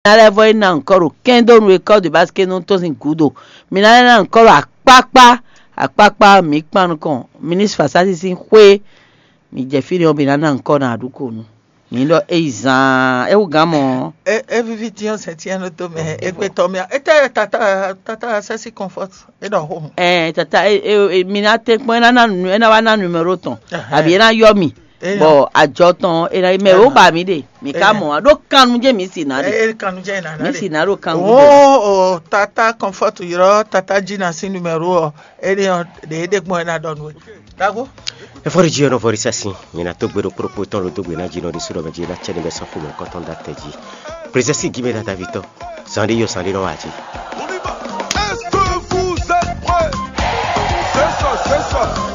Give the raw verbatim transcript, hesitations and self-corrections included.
Ná lɛ́ vɔ yi ná ŋkɔ ɖo kɛndónu e kɔ́ de básikɛ́ nɔ tɔ́n sín gǔdo. Mi ná lɛ́ ná ŋkɔ ɖo akpákpá akpákpá mǐ kpan nukɔn minisita Fasasi sín xwé. Mi jɛ fí ɖé ɔ́, mi ná ná ŋkɔ ná aɖúkonu. Mi ɖɔ é yi zaan, é wú gǎn mɔ. E e vivi tiɔn sɛ tiɛn ɖo to mɛ egbe tɔ mia. Ete tata tata sɛsi comfort e ɖɔ home. Ɛ tata e e e- mi ná tɛ kpɔn, é ná ná nu é ná wá ná numero tɔn. Abi é ná yɔ mi. Bɔ ajɔ tɔn é ná mɛ ó ba mi ɖe mi ka mɔ a ɖó kannu jɛ mi si ná ɖe. E kanu jɛ na Mi na si de. ná ɖo kannu. O o tata comfort yɔrɔ tata dzi na si numero ɔ. E de ɔ de e de gbɔn e na dɔ nu e. Dago. Efɔri dzi ɔnɔ vɔri sasi, mina to gbe ɖo kpokpo tɔn ɖo dogbe na dzi nɔ ɖi sudɔ mɛ dzi na cɛ ɖe bɛ sɔn xomɛ kɔtɔn da tɛ dzi. Prezɛsi gi mɛ dada vitɔ, zan ɖe yɔ zan ɖe nɔ wa dzi. On y va. Est-ce que vous êtes prêts? C'est ça, c'est ça.